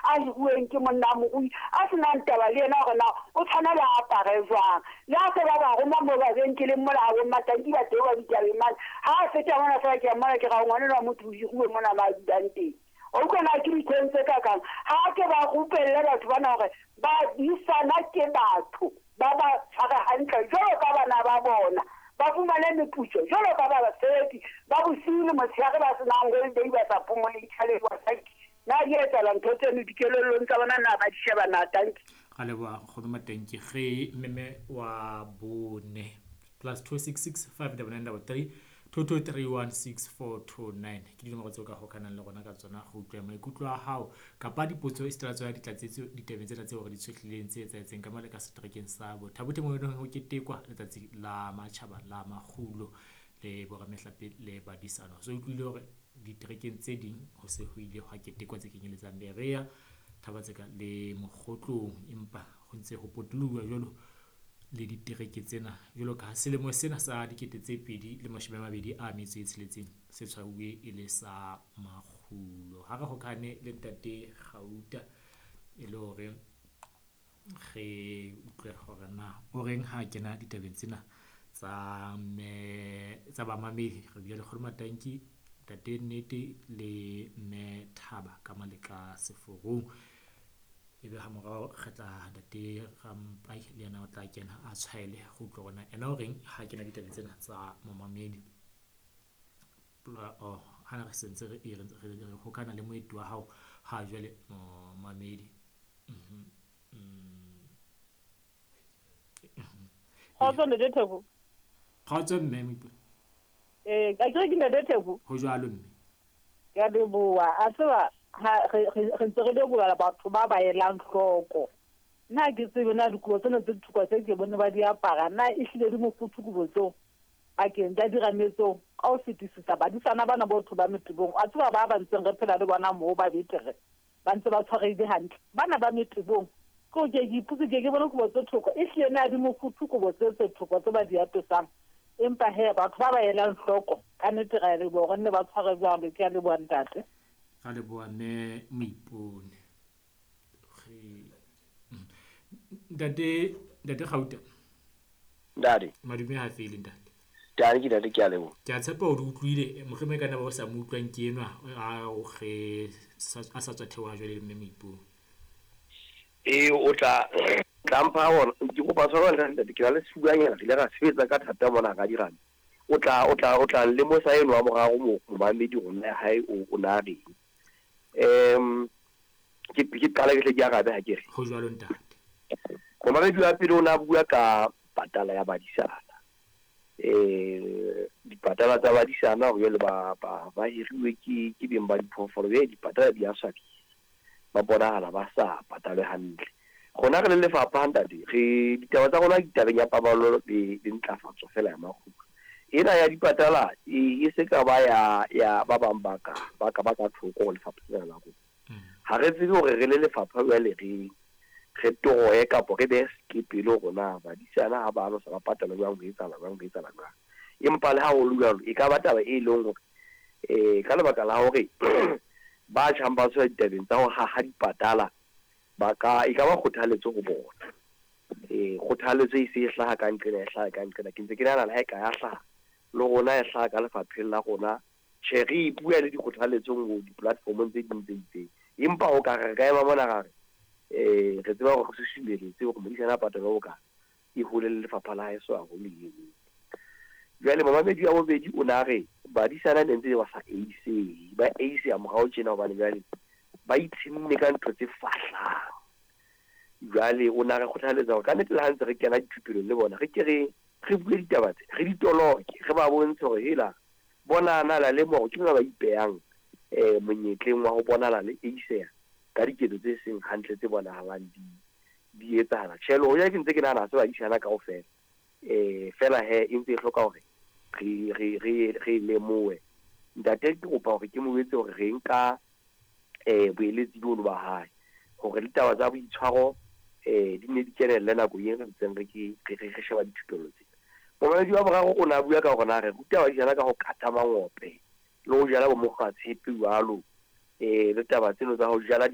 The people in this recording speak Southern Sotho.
a hiruweng ke monna morui a se nang taba le yena hore na o tshwanela a apare jwang. Le ha se ba ba roma moo mabenkeleng mola ha bo Mmatanki ba teng ba ditabeng mane, ha a feta mona feela ke a mmona ke ra ngwana enwa wa motho o hiruwe mona mo a dulang teng. Wa utlwa na ke dihlong tse kakang? Ha ke ba rupelle batho bana hore badisana ke batho ba ba tshware hantle jwalo ka bana ba bona, ba fumane meputso jwalo ka basebetsi ba bosiu le motshehare ba se nang holiday ba sa phomoleng tjhelete wa tanki. Na di etsahala ntho tseno dikelellong tsa bona na ba di sheba na tanki? Ra leboha nkgono Matanki ge meme wa bone plus 266 599 22316429 ke dinomoro tseo ka hokanang le rona ka tsona go utlwa maikutlo a hao kapa dipotso e sitela tsona ditlatsetso ditabeng tsena tseo re di tshohlileng tse etsahetseng ka mole ka seterekeng sa Botha-Bothe mo eleng ho ketekwa letsatsi la matjhaba la makgulo le boramehlape le badisano. So utlwile hore diterekeng tse ding ho se ho ile hwa ketekwa tse kenyeletsang Berea, Thaba-Tseka le Mokgotlong, empa ho ntse ho potoloha jwalo le ditereke tsena jwalo ka selemo sena sa 2026 se tshwauwe e le sa makgulo. Ha re hokane le ntate Gauta e le hore re utlwe hore na o reng ha kena ditabeng tsena tsa mme tsa bamamedi. Re bile le Kgono Matanki, ntate Nnete le mme Thaba ka Maleka Seforong. Ebe ha morao re tla ntate Rampai le yena o tla kena a tshwaele go utlwa hore na ena o reng ha kena ditabeng tsena tsa momamedi. Oh, ha re sentse re re hokana le moeti wa hao ha jwale momamedi. Kgotso ntate Theko. Kgotso mme Moipone. Ka kere ke ntate Theko. Ho jwalo mme. Ke a leboha. A tseba ha re ntse re lebohela batho ba ba elang hloko. Nna ha ke tsebe na dikobo tsena tse thukwa tse ke bone ba di apara na ehlile di mofuthu kobo tseo pakeng tsa dirame tseo ka ho fetisisa badisana bana botho ba metebong. A tseba ba ba ntseng re phela le bona moo ba betere ba ntse ba tshwarehile hantle. Bana ba metebong ke o ke ke ipotse ke ke bone kobo tse thoko ehlile na di mofuthu kobo tse tse thoko tse ba di apesang. Empa he batho ba ba elang hloko ka nnete ra leboha hore nne ba tshware jwalo. Ke a leboha ntate. Ra leboha mme Moipone. Ntate ntate Gauta. Ntate. Madume ha fele ntate. Tane ke ntate ke a leboha. Ke a tshepa o di utlwile mohlomong e ka nna ba o sa mo utlwang ke enwa a o ge a sa tswa theoha jwale le mme Moipone. Ee o tla tla mpha ona ke kopa tshwarelo ntate ke na le sefubanyana re ile ra sebetsa ka thata mona ka dirame. O tla o tla o tla lemosa eno wa moraro mo momamedi hore na hae o na reng. Ke ke qala ke hle ke arabe ha ke re. Ho jwalo ntate. Momamedi wa pele o na bua ka patala ya badisana. Dipatala tsa badisana hore jwale ba ba ba hiriwe ke ke beng ba diphoofolo be dipatala di a swabisa. Ba bonahala ba sa patalwe hantle. Rona re le lefapha ntate re ditaba tsa rona ditabeng ya paballo le le ntlafatso fela ya makgulo. Ena ya dipatala e se ka ba ya ya ba bang ba ka ba ka ba ka thoko ho lefapha lena la rona. Ha re tsebe hore re le lefapha jwale re re toroye kapa re behe sekepele hore na badisana ha ba alosa ba patala jwang ho etsahala jwang ho etsahala jwang. Empa le ha ho le jwalo e ka ba taba e leng hore ka lebaka la hore ba tjhang ba tswa ditabeng tsa ho haha dipatala ba ka e ka ba kgothaletso ho bona. Kgothaletso e se e hlaha ka nqena e hlaha ka nqena. Ke ntse ke nahana le ha e ka ya hlaha le rona e hlaha ka lefapheng la rona. Tjhe re e bua le dikgothaletsong ho di-platform-ong tse ding tse itseng. Empa o ka re re ka ema mona ra re re tseba hore re susumeletse hore modisana a patalwe bokae e hole le lefapha la haeso haholo eno. Jwale momamedi wa bobedi o na re badisana ne ntse ba sa eisehe, ba eiseha morao tjena hobane jwale ba itshenne ka ntho tse fahlang. Jwale o na re kgothaletsa hore ka nnete le ha ntse re kena dithupelong le bona re ke re re bue ditaba tse re di toloke re ba bontshe hore hela bona na la lemoha hore ke lona ba ipehang monyetleng wa ho bonahala le eiseha ka diketso tse seng hantle tse bonahalang di di etsahala. Tjhe le hoja ke ntse ke nahana ha se badisana kaofela fela he e ntse e hloka hore re re re re lemohe. Ntate ke kopa hore ke mo jwetse hore re nka boeletsi bono ba hae hore le taba tsa boitshwaro di ne di kenelle nako e re ntseng re ke re sheba dithupello tsena. Momamedi wa boraro o na bua ka hore na re ruta badisana ka ho kata mangope le ho jala bo mokgwatshepe jwalo le taba tseno tsa ho jala